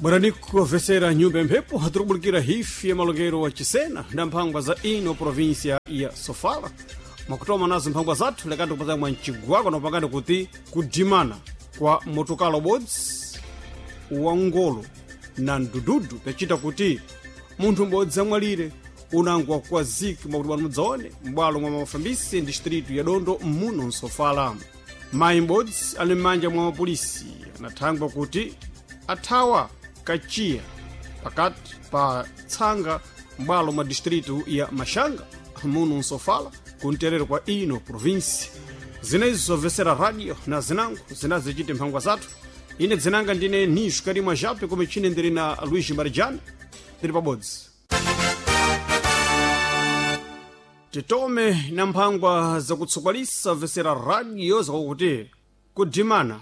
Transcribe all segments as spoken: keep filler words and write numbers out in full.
Bwananiko vesera nyumba ya mphepo tirikubulikira hifi ya malongero wa Chisena na mphangwa za ino provinsia ya Sofala. Mwakutoma nazo mphangwa zathu lekati kupata mwa mcigwako na upangani kuti kudimana kwa motokala ubodzi wa ngolo na mdududu pyacita kuti munthu m'bodzi amwalire unango wakukwaziki mwakuti bwana mudzaone m'bwalo mwa mafambisi distritu ya Dondo muno msofala. Mayi m'bodzi ali m'manja mwa mapolisi anathangwa kuti athawa kachiya pakati pa tsanga m'bwalo mwa distritu ya Maxanga muno msofala kumterero kwa ino provinsi. Zinezo zobvesera radio na zinango zinazichite mphangwa zathu. Ine dzinanga ndine Nisho Karimwa Jape kome chine ndiri na Luiz Marijani tiri pabodzi. Titome na mphangwa zakutsokwalisa vesera radio zakuti kudimana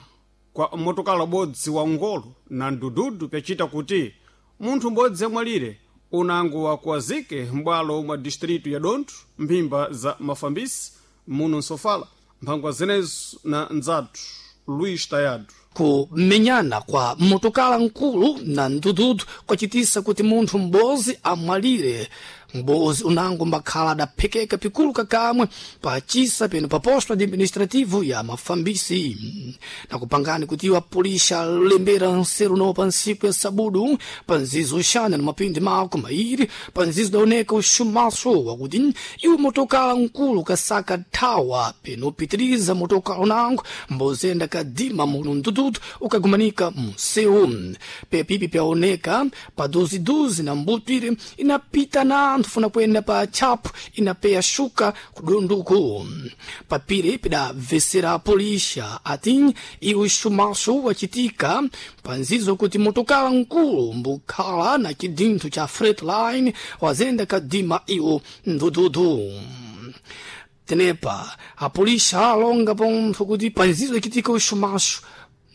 kwa motokala ubodzi wa ngolo na mdududu pyacita kuti munthu m'bodzi amwalire unango wakuwazike m'bwalo mwa distritu ya Dondo mphimba za mafambisi muno msofala. Mphangwa zinezo na ndzathu Luiz Tayado. Kumenyana kwa motokala nkulu na mdududu kwacitisa kuti munthu m'bodzi amwalire. M'bodzi unango mbakhala adaphekeka pikulu kakamwe pacisa peno pa posto administrativo ya mafambisi. Nakupangani kuti iwo apulisha alembera nseru no pa ntsiku ya sabudu pa nzizo uxana na mapindi mako mairi pa nzizo daoneka uxumaso wakuti iwo motokala nkulu kasaka thawa peno upitiriza motokala unango mbozenda kadima muno mdududu ukagumanika munsewu. Pepipi pyaoneka pa duziduzi na mbutwire inapita na anthu funa kuyenda pa tchapu inapeya shuka kudonduku. Papire pidabvesera polisha ati iwo xumaso wacitika pa nzizo kuti motokala nkulu mbukhala na cidintho cha Freightliner wazenda kadima iwo mdududu. Tenepa apolisha alonga pontho kuti pa nzizo ichitika uxumaso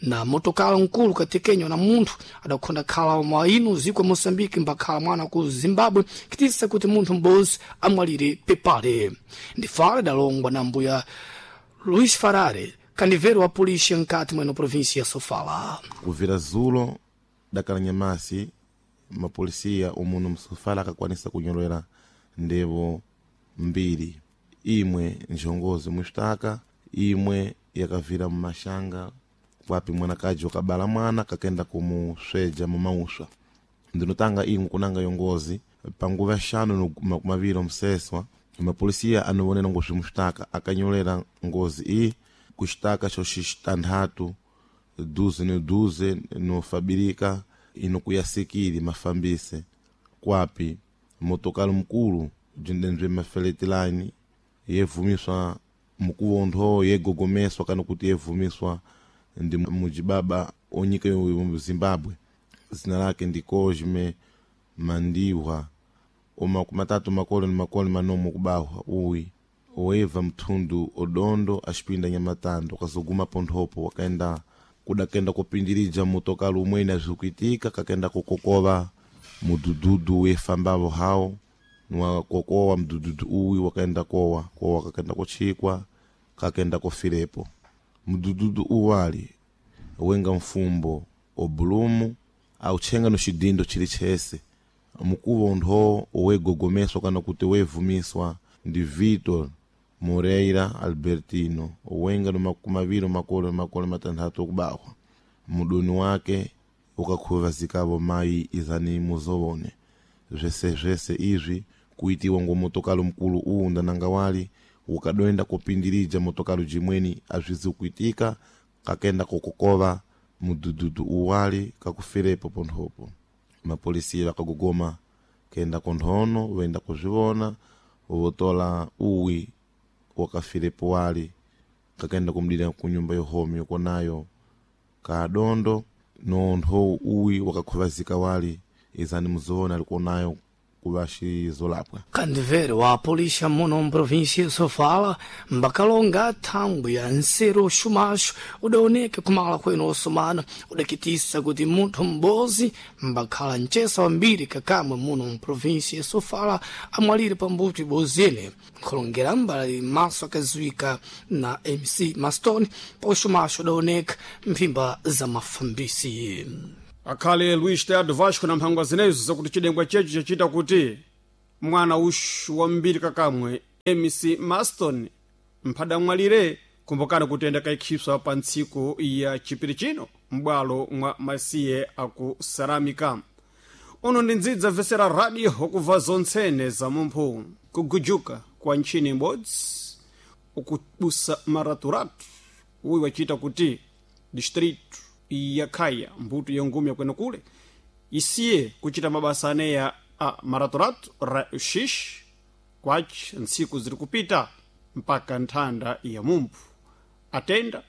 na motokala nkulu katekenywa na munthu adakhonda khala mwa ino ziko ya Moçambique mbakhala mwana ku Zimbabwe kitisa kuti munthu m'bodzi amwalire pepale. Ndifale dalongwa na mbuya Luis Farare, kanivero wa polícia nkati mweno província ya Sofala. Kuvira zulo dakala nyamasi mapolisiya umuno msofala akakwanisa kunyolera ndevo mbiri, imwe njongozi muxitaka, imwe yakavira mumashanga kwapi mwanakaji wakabala mwana kakenda kumusweja mumauswa. Ndinotanga imwe kunanga yongozi panguva yaxanu makumaviri omseswa mapolisiya anowonera ngozi muxitaka akanyolera ngozi iyi kuxitaka xoxitanthatu duze ni duze nofabirika ino kuyasikili mafambise kwapi motokalo mkulu jindenzwe mafeletilani yevumiswa mukuvontho yegogomeswa kana kuti yevumiswa ndi mujibaba onyika yo Zimbabwe zina lake ndi Cosme Mandiwa omakumatatu makolo ni makolo manomo kubahwa uwi oeva mthundu odondo axipinda nyamatando akazoguma ponthopo wakaenda kudakenda kupindirija motokalo umwene azvikuitika kakenda kukokova mudududu wefambavo hawo niwakokowa mdududu uwi wakaenda kowa kowa kakenda kuchikwa kakenda kufirepo. Mdududu uwali wenga mfumbo obulumu auchenga no xidindo chili chese mukuvo ntho owegogomeswa kana kuti wevumiswa ndi Vitor Moreira Albertino owenga no makumaviri makolo makolo matanthatu okubahwa mudoni wake ukakhuvazikavo mayi izani muzowone zvese zvese izvi kuitiwa ngo motokalo mkulu uwu ndananga wali ukadoenda kupindirija motokalo jimweni azvizi kuitika kakenda kukokova mudududu uwali kakufirepo ponthopo. Mapolisiya vakagogoma kenda konthono voenda kuzvivona votola uwi wakafirepo wali kakenda kumdira kunyumba yohomi yokonayo kadondo nontho uwi wakakhuvazika wali izani muzoona alikuonayo kuvaxizolapwa. Kandivere wa polícia muno mprovíncia ya Sofala mbakalonga thangwi ya nseru uxumaxo udaoneka kumala kwenu osomana udakitisa kuti munthu m'bodzi mbakhala mcesa wambiri kakamwe muno mprovíncia ya Sofala amwalire pambuto ibozene. Nkhulongera mbali maso akaziwika na M C Maston pa uxumaxo udaoneka mphimba za mafambisi. Akhale Luis Teado Vasco na mphangwa zinezo zakuti chidengwa checho chachita kuti mwana uxu wambiri kakamwe M C Maston mphadamwalire. Kumbukani kuti enda kaikhipswa pa ntsiku ya chipiri chino m'bwalo mwa masiye aku Saramika. Uno ndi ndzidza vesera radio okubva zontsene za mumphu. Kugujuka kwa ntchini imodzi ukubusa maraturatu uyu wachita kuti distrito ya Khaya, mbuto ya ngumi yakwenekule, isiye kuchita mabasa aneya a maraturatu ra uxixe kwaci ntsiku ziri kupita mpaka nthanda ya mumphu. Atenda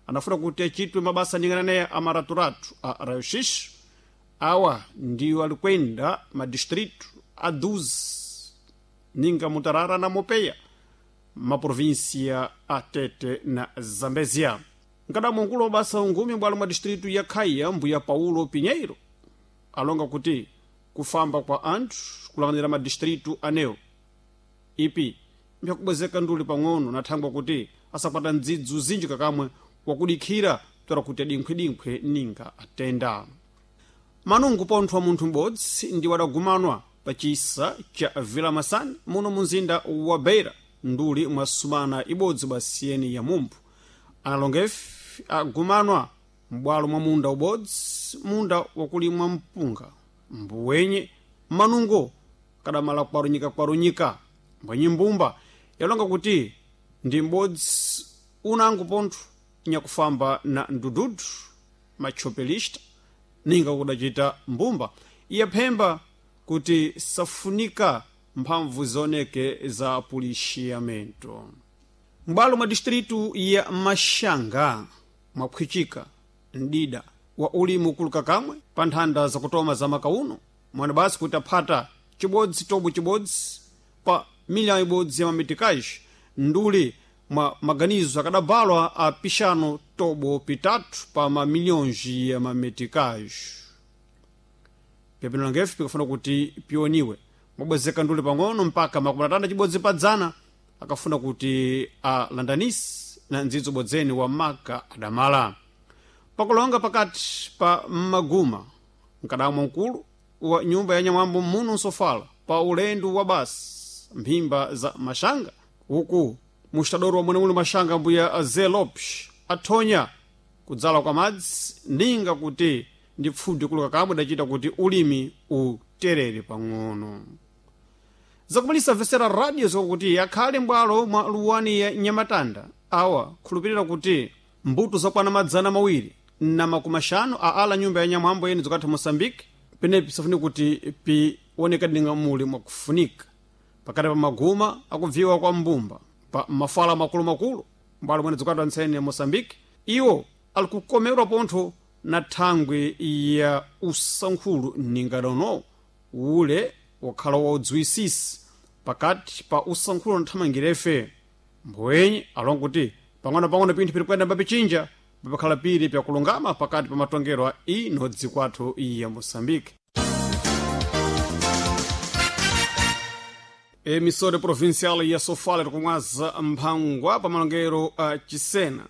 anafuna kuti achitwe mabasa ndingananeya a maraturatu a rayoshish. Awa ndiwo alikwenda madistrito a doze ninga Mutarara na Mopeya, maprovinsia a Tete na Zambezia. Nkadamwa mkulu wa basa ungumi bwalo mwa distrito ya Khaya, mbuya Paulo Pinheiro, alonga kuti kufamba kwa anthu kulanganira madistrito anewo ipi mphyakubwezeka nduli pang'ono na thangwa kuti asakwata ndzidzu zinji kakamwe wakudikhira tora kuti adinkhwedinkhwe ninga atenda. Manungu ponthwa munthu m'bodzi ndi wadagumanwa pa chisa cha Vila Masani muno munzinda wa Beira nduli mwa sumana ibodzi basiyeni ya mumphu. Analongefe agumanwa m'bwalo mwa munda ubodzi, munda wakulimwa mpunga mbuwenye manungo kadamala kwarunyika-kwarunyika. Mbwenyi mbumba yalonga kuti ndi m'bodzi unango pontho nyakufamba na ndududu machopelista ninga kudacita mbumba iyaphemba kuti safunika mphamvu zioneke za policiamento. M'bwalo mwa distritu ya Maxanga mwaphwichika mdida wa ulimi ukuluka kamwe pa nthanda zakutoma za makauno mwana basi kuti aphata chibodzi tobo chibodzi pa miliyoni ibodzi ya mamitikaji nduli mwa maganizo akadabalwa a pixano tobo pitatu pa mamilhões ya mamitikaji. Pyapino langefe pikafuna kuti pioniwe mwabwezeka nduli pang'ono mpaka makumi atanda chibodzi pa dzana akafuna kuti alandanisi na ndzidzo bodzeni wa maka adamala pakulonga pakati pa mmaguma. Mkadamwa mkulu wa nyumba ya nyamwambo muno nsofala pa ulendo wa basi mphimba za Maxanga uku mustadoro wa mwenemuli Maxanga, mbuya Zé Lopes, athonya kudzala kwa madzi ninga kuti ndi pfudi kuluka kamwe dacita kuti ulimi uterere pang'ono. Zakumalisa vesera radio zikakuti akhale m'bwalo mwa luwani ya Nyamatanda awa khulupirira kuti mbuto zakwana madzana mawiri na makumi axanu a ala nyumba ya nyamwambo yene zokatha Moçambique penepi safuni kuti pionekadinga muli mwakufunika pakati pa maguma akubviwa kwa mbumba pa mafala makulumakulu m'bwalo mwene zokatha ntsene ya Moçambique. Iwo ali kukomerwa pontho na thangwi ya usankhulu ningadono ule wakhala waudziwisisi pakati pa usankhulu na thamangirefe. Mbwenye alonga kuti pang'ono-pang'ono pinthu piri kuyenda mbapichinja papakhala piri pyakulungama pakati pa matongero a ino dzikwathu ya Moçambique. Emissora provincial ya Sofala tikumwaza mphangwa pa malongero a Chisena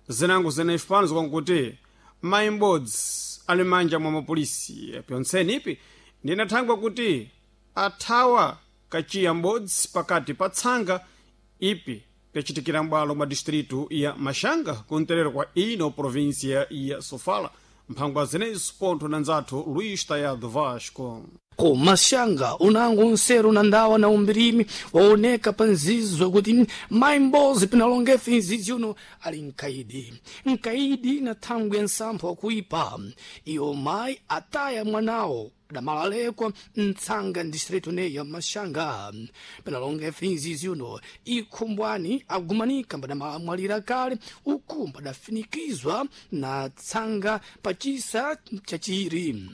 zinango zenefi pano zikwankuti mayi m'bodzi ali m'manja mwa mapolisi pyontseni ipi ndinathangwa kuti athawa kachiya m'bodzi pakati pa tsanga ipi pyacitikira m'bwalo mwa distritu ya Maxanga kumterero kwa ino província ya Sofala. Mphangwa zenezo pontho na nzathu Luís Tayado Vasco. Ku Maxanga unango nseru na ndawa na umbirimi waoneka pa nzizo kuti mayi m'bodzi pinalongefe nzizi uno ali mkaidi mkaidi na thangwi ya nsampho wakuipa. Iyo mayi ataya mwanawo damalalekwa mtsanga distritu neya Maxanga. Pinalongefe nzizi uno ikhumbwani agumanika mbadamwalira kale uku mbadafinikizwa na tsanga pachisa chachiri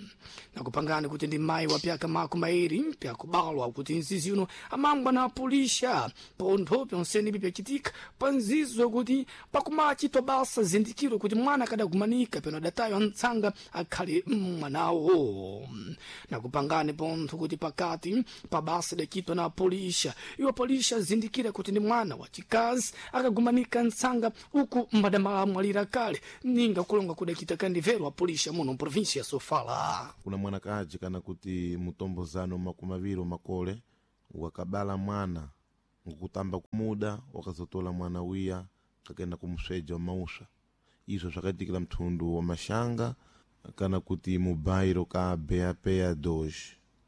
nakupangani kuti ndi mayi wa pyaka makumi mairi pyakubalwa kuti nzizi uno amangwa na apulisha pontho pyonsene ipi pyacitika pa nzizo kuti pakumachitwa basa zindikiro kuti mwana akadagumanika pano adataywa mtsanga akhale mwanawo. Na kupangani pontho kuti pakati pa basa idacitwa na apolisha, iwo apolisha azindikira kuti ndi mwana wa chikazi akagumanika ntsanga uku mbadamala amwalira kale, ninga kulonga kudacita kandivero apolisha muno mprovinsia ya Sofala. Kuna mwanakaji kana kuti mutombozano makumi awiri makole wakabala mwana ngokutamba kumuda wakazotola mwana wiya kakenda kumusweja mauswa. Izvo zvakaitikira mthundu wa Mashanga kana kuti mubairo ka Beapea dos.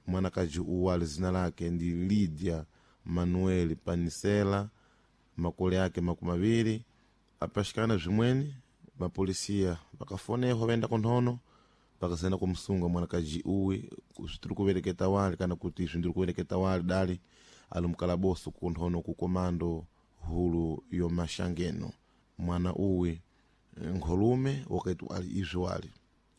Mwanakaji uwali zina lake ndi Lydia Manuel Panisela, makole ake makumi awiri. Apashikana zvimweni mapolisiya vakafonehwa vaenda kunthono vakasenda kumusunga mwanakaji uwi zvitiri kuvereketa wali kana kuti izvi ndiri kuvereketa wali dali ali mukalaboso kunthono ku komando hulu yo Mashangeno. Mwana uwi nkholume wakati ali izvi wali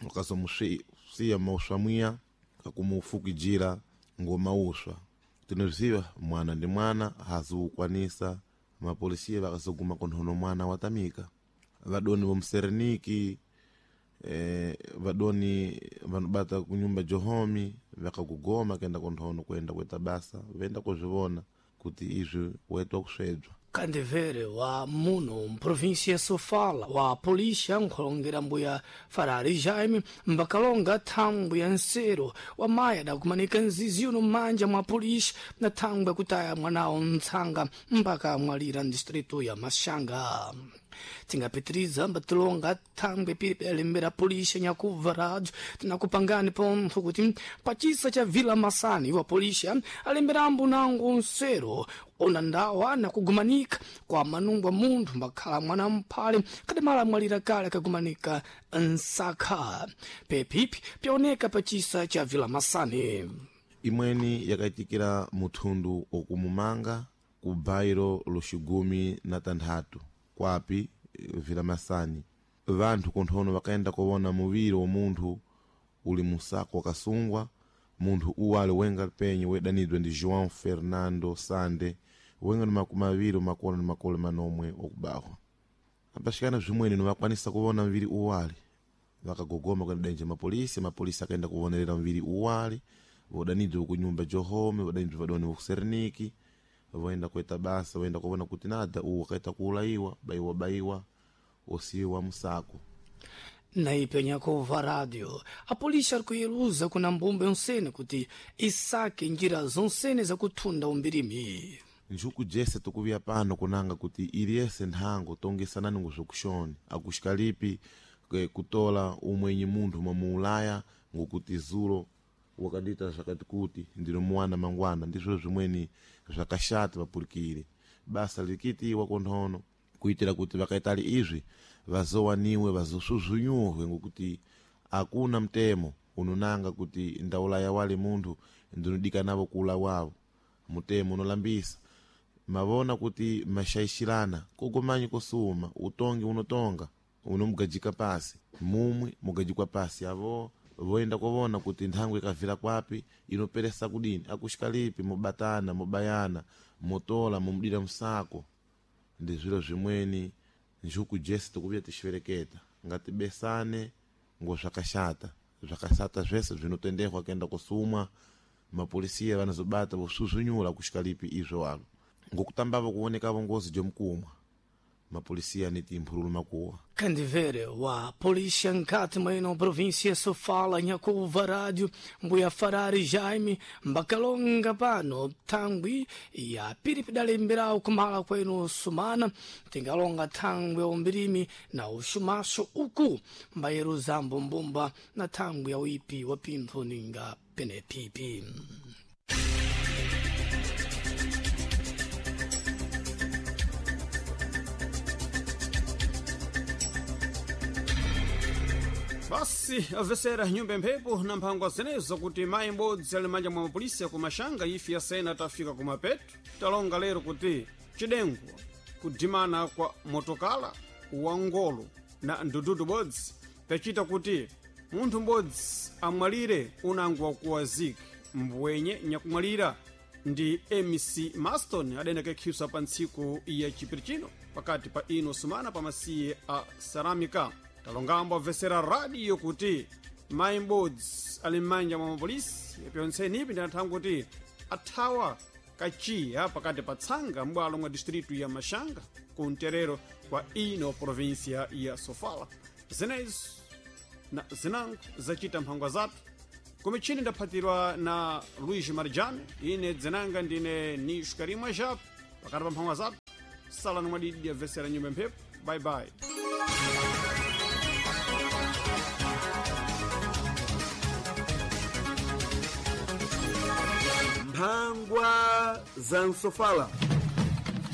wakazomusiya mauswa mwiya kakumufukijira ngomauswa. Tinoziva mwana ndi mwana haziukwanisa. Mapolisiya vakazoguma kunthono mwana watamika. Vadoni vomusereniki eh, vadoni vanobata kunyumba johomi vakakugoma kenda kunthono kuenda kuita basa venda kuzvivona kuti izvi waitwa kusvedzwa. Kandivere wa muno mprovinsia ya Sofala wa polisha nkhulongera mbuya Farari Jaime mbakalonga thangwi ya nsero wa mayi adakumanika nzizi uno m'manja mwa polisha na thangwi akutaya mwanawo ntsanga mpaka amwalira mdistritu ya Mashanga. Tingapitiriza mbatilonga thangwi pilipi alembera polisha nyakubva radio tinakupangani pontho kuti pachisa cha Vila Masani wa polisha alemberambo nango nsero ona ndawa nakugumanika kwa manungwa munthu mbakhala mwana mphale kadamala amwalira kale akagumanika nsakha pepipi pyaoneka pachisa cha Vila Masani. Imweni yakaitikira muthundu okumumanga ku bairo loxigumi na tanthatu kwapi Vila Masani. Vanthu kunthono vakaenda kuwona muviri wa munthu uli musako wakasungwa. Munthu uwali wenga penye wedanidwa ndi João Fernando Sande wenga ni makumi awiri makolo ni makolo manomwe okubahwa. Apashikana zvimweni novakwanisa kuwona mviri uwali vakagogoma kwenda denje mapolisi. Mapolisi akaenda kuvonerera mviri uwali vodanidwa kunyumba johome vodanidwa vadoni vokuserniki voenda kuita basa voenda kuona kuti nada uwu wakaita kuulayiwa baiwa baiwa osiwa musako. Naipe nyakuva radio apolisi ari kuyeluza kuna mbumba yonsene kuti isake njira zonsene zakuthunda umbirimi. Njuku jese tukuviya pano kunanga kuti iliyese nthango tongesanani ngozvokushoni akuxikalipi kutola umwenyi munthu mwamuulaya ngokuti zulo wakadita zvakati kuti ndinomuwana mangwana. Ndizvo zvimweni zvakashata vapulikire basa likitiwa kunthono kuitira kuti vakaitali izvi vazowaniwe vazosvuzvunyuhwe ngokuti akuna mtemo unonanga kuti ndaulaya wali munthu ndinodikanavo kuulawavo. Mutemo unolambisa mavona kuti mashaishirana kogomanyi kosuma utongi unotonga unomugajika pasi mumwe mugajikwa pasi avo voenda kovona kuti nthango ikavira kwapi inoperesa kudini akuxikalipi mubatana mubayana mutola mumudira musako. Ndi zviro zvimweni njuku jese tikuvuya tixivereketa ngatibesane ngo zvakashata zvakashata zvese zvinotendehwa kuenda kusumwa. Mapolisiya vanozobata vosvuzvunyura kuxikalipi izvo walo ngokutambavo kuonekavo ngozi jomukumwa mapolisiya aniti mphululu makuwa. Kandivere wa polícia nkati mweno província Sofala nyakuva rádio mbuya Farari Jaime mbakalonga pano thangwi ya piripi dalemberawo kumala kwenu sumana tingalonga thangwi ya umbirimi na uxumaxo uku mbayeruzambo mbumba na thangwi ya uipi wa pintho ninga penepipi. Basi avesera nyumba mphepo na mphangwa zenezo kuti mayi m'bodzi ali manja mwa mapolisi ku Mashanga ife yasena tafika kumapeto. Talonga lero kuti cidengwa kudimana kwa motokala wa ngolo na ndududu bodzi pacita kuti munthu m'bodzi amwalire unango wakuwazika mbwenye nyakumwalira ndi M C Maston adenda kekhiswa pa ntsiku ya chipiri chino pakati pa ino sumana pa masiye a Saramika. Talongambo amvesera radio kuti Mayi m'bodzi ali m'manja mwa mapolisi pyontseni ipi ndinatha kuti athawa kachiya pakati pa tsanga m'bwalo mwa distritu ya Maxanga kumterero kwa ino província ya Sofala. Zinezo na zinango zacita mphangwa zathu kumichini ndaphatirwa na Luís Marjane. Ine dzinanga ndine Nisho Karimwa Japo. Pakati pa mphangwa zathu salani mwadidi yabvesera nyumba mphepo. Bye bye. Mphangwa za msofala.